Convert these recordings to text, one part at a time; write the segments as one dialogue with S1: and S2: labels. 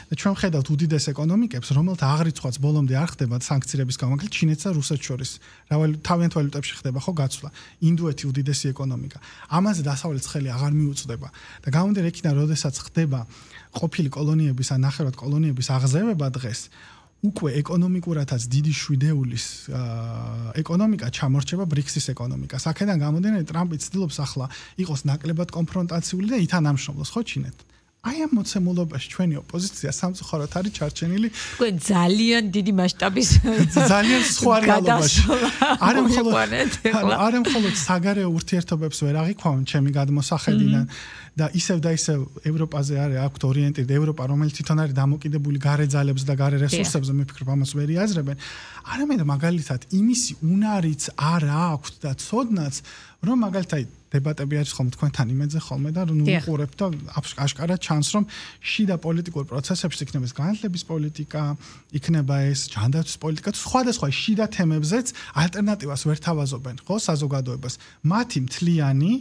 S1: და ჩვენ ხედავთ უდიდეს ეკონომიკებს, რომელთა აღრიცხვაც ბოლომდე არ ხდება სანქციების გამო, ჩინეთს და რუსეთს შორის. თავიანთ ვალუტებში ხდება ხო გაცვლა. ინდოეთი უდიდესი ეკონომიკა. ამაზე დასავლეთს ხელი აღარ მიუწვდება და გამომდინარე იქიდან, როდესაც ხდება ყოფილი კოლონიების ან ნახევრად კოლონიების აღზევება დღეს უკვე ეკონომიკურათაც დიდი შვიდეულის ეკონომიკა ჩამორჩება ბრიქსის ეკონომიკას. აქედან გამომდინარე ტრამპი ცდილობს ახლა იყოს ნაკლებად კონფრონტაციული და ითანამშრომლოს ხო ჩინეთთან. აი ამ მოცემულობაში ჩვენი ოპოზიცია სამწუხაროდ არის ჩარჩენილი.
S2: უკვე ძალიან დიდი მასშტაბის
S1: ძალიან სხვა რეალობაში. არ მხოლოდ საგარეო ურთიერთობებს ვერ აღიქვამენ ჩემი გადმოსახედიდან და ისევ ევროპაზე არის აქვთ ორიენტირდა ევროპა, რომელიც თვითონ არის დამოკიდებული გარე ძალებს და გარე რესურსებზე, მე ვფიქრობ ამას ვერ იაზრებენ. არამედ მაგალითად იმისი უნარიც არ აქვთ და ცოდნაც, რომ მაგალითად დებატები არის ხოლმე თქვენთან იმედზე ხოლმე და ნუ უყურებთ და აშკარად ჩანს რომ შიდა პოლიტიკურ პროცესებში იქნება ეს განათლების პოლიტიკა, იქნება ეს ჯანდაცვის პოლიტიკა, სხვადასხვა შიდა თემებზეც ალტერნატივას ვერ თავაზობენ, ხო, საზოგადოებას. მათი მთლიანი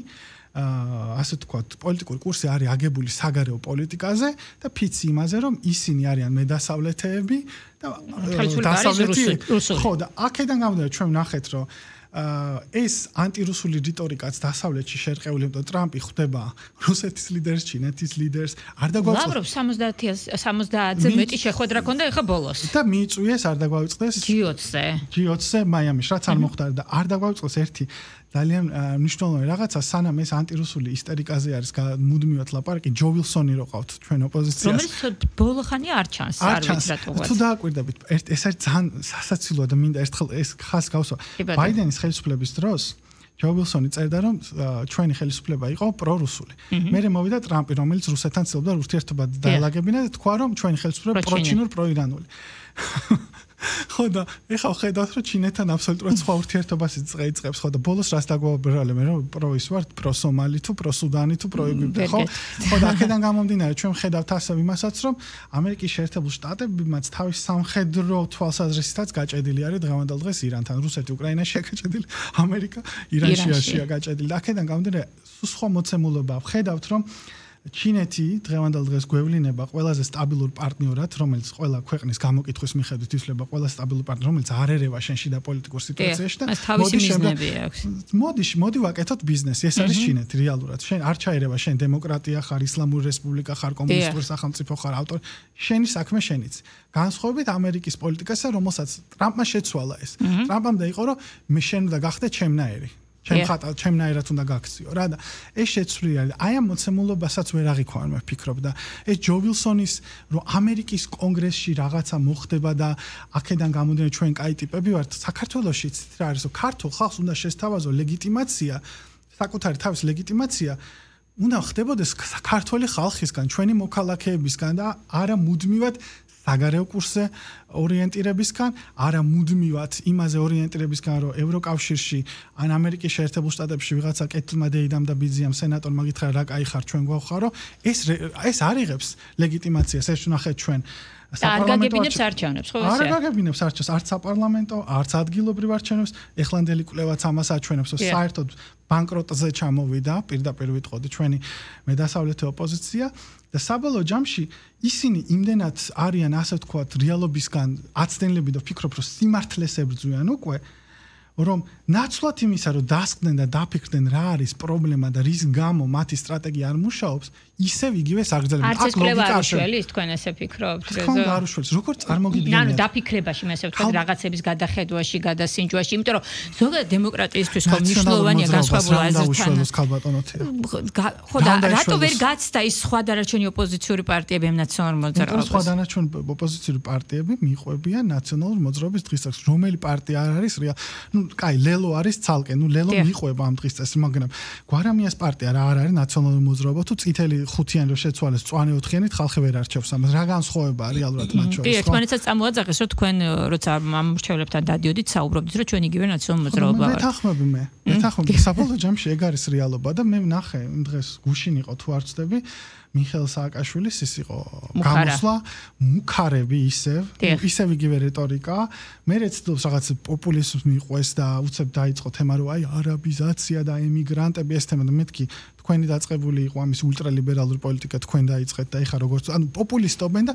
S1: ასე ვთქვათ, პოლიტიკური კურსი არის აგებული საგარეო პოლიტიკაზე და ფიცი იმაზე, რომ ისინი არიან მედასავლეთეები და დასავლეთი ხო და აქედან გამომდინარე ჩვენ ვნახეთ, რომ ეს ანტირუსული რიტორიკაც დასავლეთში შერყეული, იმიტომ ტრამპი ხვდება რუსეთის ლიდერს, ჩინეთის ლიდერს, არ დაგვაწყდეს.
S2: ლავროვ 70-ზე მეტი შეხვედრა ქონდა ეხა ბოლოს.
S1: და მიიწვიეს არ დაგვაწყდეს G20-ზე მაიამის, რაც არ მოხდა და არ დაგვაწყდეს ერთი ძალიან მნიშვნელოვანი რაღაცა, სანამ ეს ანტირუსული ისტერიკაზე არის მუდმივად ლაპარაკი, ჯო ვილსონი რო ყავთ ჩვენ ოპოზიციას.
S2: რომელიც ბოლო ხანი არ ჩანს, არ ვიცი რატოღაც.
S1: თუ დააკვირდებით, ეს არის ძალიან სასაცილოა და მინდა ერთხელ ეს ხას გავსვა. ბაიდენის ხელისუფლების დროს ჯო ვილსონი წერდა, რომ ჩვენი ხელისუფლება იყო პრორუსული. მერე მოვიდა ტრამპი, რომელიც რუსეთთან ცდილობდა ურთიერთობა დაალაგებინა და თქვა, რომ ჩვენი ხელისუფლება პროჩინურ პროირანული. ხო და ეხლა ხედავთ რომ ჩინეთთან აბსოლუტურად სხვა ურთიერთობას იწყებს ხო და ბოლოს რას დაგვაბრალე მე რომ პრო ის ვარ პრო სომალი თუ პრო სუდანი თუ პრო ეგვიპტე ხო და აქედან გამომდინარე ჩვენ ხედავთ ასევე იმასაც რომ ამერიკის შეერთებულ შტატებმაც თავის სამხედრო თვალსაზრისითაც გაჭედილი არის დღევანდელ დღეს ირანთან რუსეთი უკრაინაშია გაჭედილი ამერიკა ირანშია გაჭედილი და აქედან გამომდინარე სხვა მოცემულობა ხედავთ რომ ჩინეთი დღევანდელ დღეს გვევლინება ყველაზე სტაბილურ პარტნიორად, რომელიც ყველა ქვეყნის გამოკითხვის მიხედვით ითვლება ყველა სტაბილურ პარტნიორად, რომელიც არ ერევა შენში და პოლიტიკურ სიტუაციაში და მოდი ვაკეთოთ ბიზნესი. ეს არის ჩინეთი რეალურად. შენ არ ჩაერევა შენ დემოკრატია ხარ, ისლამური რესპუბლიკა ხარ, კომუნისტური სახელმწიფო ხარ, ავტორი. შენი საქმე შენიც. განსხვავებით ამერიკის პოლიტიკასა, რომელსაც ტრამპმა შეცვალა ეს. ტრამპამ დაიყო რომ მე შენ უნდა გახდე ჩემნაირი. ჩემნაირად უნდა გაქციო რა და ეს შეცვლილი არის. აი ამ მოცემულობასაც ვერ აღიქვამენ მე ვფიქრობ და ეს ჯო ვილსონის რომ ამერიკის კონგრესში რაღაცა მოხდება და აქედან გამომდინარე ჩვენ კაი ტიპები ვართ საქართველოშიც რა არის რომ ქართულ ხალხს უნდა შესთავაზო ლეგიტიმაცია საკუთარი თავის ლეგიტიმაცია უნდა ხდებოდეს საქართველოს ხალხისგან ჩვენი მოქალაქეებისგან და არა მუდმივად საგარეო კურსზე ორიენტირებისგან, არა მუდმივად იმაზე ორიენტირებისგან, რომ ევროკავშირში ან ამერიკის შეერთებულ შტატებში ვიღაცა კეთილმა დეიდამ და ბიძიამ სენატორმა გითხრა რა კაი ხარ ჩვენ გვახვხარო, ეს არ იღებს ლეგიტიმაციას, ეს ვნახეთ ჩვენ
S2: არ გაგებინებს არჩევნებს, ხო
S1: ესეა? არ გაგებინებს არჩევნებს, არც საპარლამენტო, არც ადგილობრივ არჩევნებს, ეხლანდელი კვლევაც ამას აჩვენებს, რომ საერთოდ ბანკროტზე ჩამოვიდა, პირდაპირ ვიტყოდი ჩვენი მედასავლეთი ოპოზიცია და საბოლოო ჯამში ისინი იმდენად არიან ასე ვთქვათ რეალობისგან აცდენლები და ვფიქრობ რომ სიმართლეს ებრძვიან უკვე რომ ნაცვლად იმისა რომ დასკდნენ და დაფიქრდნენ რა არის პრობლემა და რის გამო მათი სტრატეგია არ მუშაობს ისევ იგივე საგრძელება
S2: აქ ლოგიკა არ შველის თქვენ ესე ფიქრობთ
S1: რეზო არ უშველს როგორ წარმოგიდგენიათ
S2: ანუ დაფიქრებაში მე ესე ვთქვათ რაღაცების გადახედვაში გადასინჯვაში იმიტომ რომ ზოგადად დემოკრატიისთვის ხომ მნიშვნელოვანია განსხვავებული აზრთან ხო და რატო ვერ გაცდა ის სხვა დანარჩენი ოპოზიციური პარტიები ამ ნაციონალურ მოძრაობას
S1: სხვა დანარჩენი ოპოზიციური პარტიები მიყვებიან ნაციონალურ მოძრაობის დღისწესს რომელი პარტია არ არის ნუ კაი ლელო არის ცალკე ნუ ლელო მიყვება ამ დღისწესს მაგრამ გვარამიას პარტია რა არ არის ნაციონალური მოძრაობა თუ წითელი ხუთიანი რო შეცვალეს წვანე ოთხიანით ხალხი ვერ არჩევს ამას რა განსხვავებაა რეალურად მათ შორის
S2: კი ერთმანეთსაც წამოაძახეს რომ თქვენ როცა ამ მრჩევლებთან დადიოდით საუბრობდით რომ ჩვენ იგივე ნაციონალური მოძრაობა ვართ
S1: მეთანხმები საბოლოო ჯამში ეგ არის რეალობა და მე ვნახე დღეს გუშინ იყო თუ არ ვცდები მიხეილ სააკაშვილის ის იყო გამოსვლა მუქარები ისევ იგივე რიტორიკა მე რეცდობს რაღაც პოპულიზმს მიყვეს და უცებ დაიწყო თემა რომ აი არაბიზაცია და ემიგრანტები ეს თემა და მეთქი თქვენი დაწყებული იყო ამის ულტრალიბერალური პოლიტიკა თქვენ დაიწყეთ და ეხა როგორც ანუ პოპულისტობენ და